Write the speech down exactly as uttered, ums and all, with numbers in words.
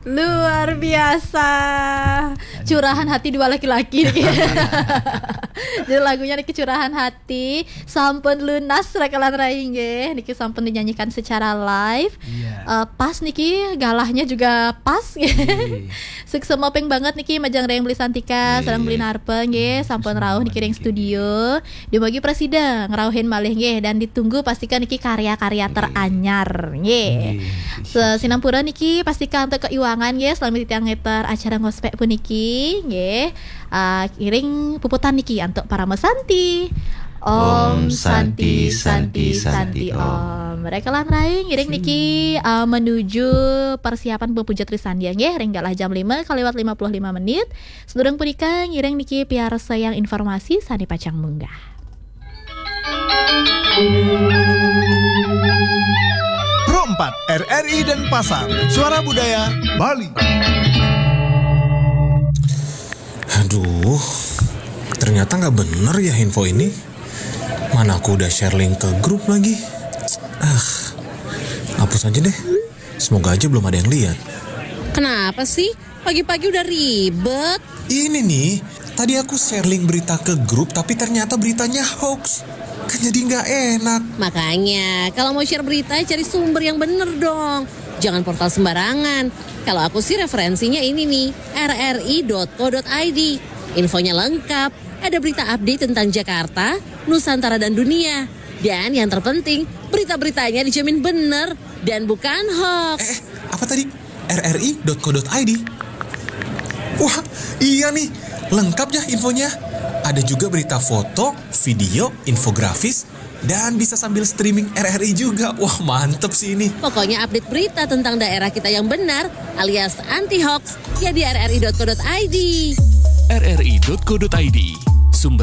Luar biasa. Curahan hati dua laki-laki. Jadi lagunya niki curahan hati, sampun lunas rekelan rai nggih. Niki sampun dinyanyikan secara live. Iya. Eh, pas niki galahnya juga pas. Suksema ping banget niki majeng ring Beli Santika, Nggih. sareng Beli Narpe nggih, sampun Suksema rauh niki ring studio. Dumugi prasida ngrauhin malih nggih dan ditunggu pastikan niki karya-karya teranyar nggih. Nggih, So, sinampura niki pastika antuk keiwangan nggih selama titiang ngeter acara ngospek puniki nggih. Ah, iring puputan niki antuk Parama Santi. Om Santi, Santi, Santi, Om. Om. Rekelan rai ngiring niki ah, menuju persiapan bepujat Trisandya nggih ring galah jam lima kaliwat lima puluh lima menit. Sedurung punika ngiring niki piarsayang informasi sane pacang munggah. Pro empat, R R I Denpasar, Suara Budaya Bali. Aduh, ternyata nggak bener ya info ini. Mana aku udah share link ke grup lagi. Ah, hapus aja deh. Semoga aja belum ada yang lihat. Kenapa sih? Pagi-pagi udah ribet. Ini nih, tadi aku share link berita ke grup tapi ternyata beritanya hoax. Kan jadi nggak enak. Makanya, kalau mau share berita, cari sumber yang bener dong. Jangan portal sembarangan. Kalau aku sih referensinya ini nih, R R I dot co dot I D. Infonya lengkap, ada berita update tentang Jakarta, Nusantara dan dunia. Dan yang terpenting, berita-beritanya dijamin bener dan bukan hoax. Eh, apa tadi? R R I dot co dot I D. Wah, iya nih, lengkap ya infonya. Ada juga berita foto, video, infografis, dan bisa sambil streaming R R I juga. Wah, mantep sih ini. Pokoknya update berita tentang daerah kita yang benar alias anti hoax ya di R R I dot co dot I D. R R I dot co dot I D.